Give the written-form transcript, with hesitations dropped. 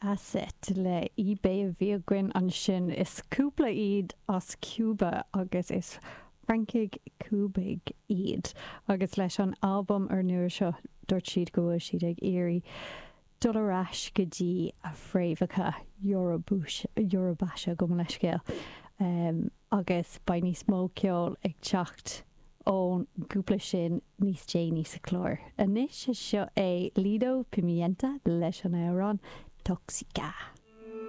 Asset le eBay a bhí againn ansin. Is cúpla iad as Cuba agus is Francaigh Cúbaigh iad agus leis an albam úrnua seo dúirt siad go bhfuil siad ag iarraidh dul ar ais go dtí a bhfréamhacha Iorúbaise, gabh mo leithscéal, agus beidh níos mó ceoil ag teacht ón gcúpla sin níos déanaí sa chlár. Anois seo é Lido Pimienta leis an amhrán Tóxica.